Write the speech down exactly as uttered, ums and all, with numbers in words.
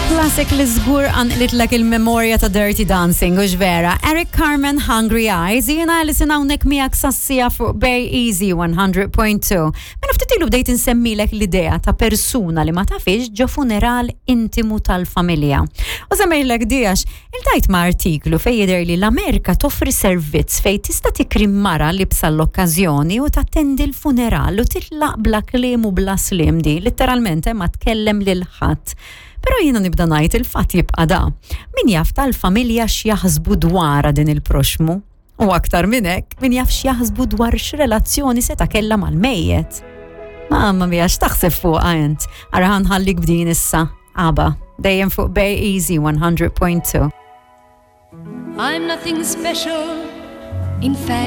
Classic li żgur qanqlitlek il-memorja ta' Dirty Dancing, hux vera. Eric Carmen, Hungry Eyes, jiena Alison hawnhekk miegħek sas-siegħa fuq Bay Easy one hundred point two. Mela ftit ilu bdejt insemmilek l-idea ta' persuna li ma tafix ġo funeral intimu tal-familja. U semmejtlek di għax iltqajt ma' artiklu fej jidher li l-Amerika toffri servizz fej tista' tikri mara li l-okkażjoni u tattendi l-funeral u titlaq bla kliem u bla slim di, literalment eh, ma tkellem lil ħadd. Però jiena nibda ngħid, il-fatt jibqa' da. Min jaf tal-familja x'jaħsbu dwar din il-proxmu? U aktar minn hekk, min jaf x'jaħsbu dwar x'relazzjoni seta' kellha mal-mejjet? Mamma mia, x'taħseb fuqha int? Ara, ħa nħallik b'din issa. ABBA, dejjem fuq Bay Easy one hundred point two. I'm nothing special. In fact,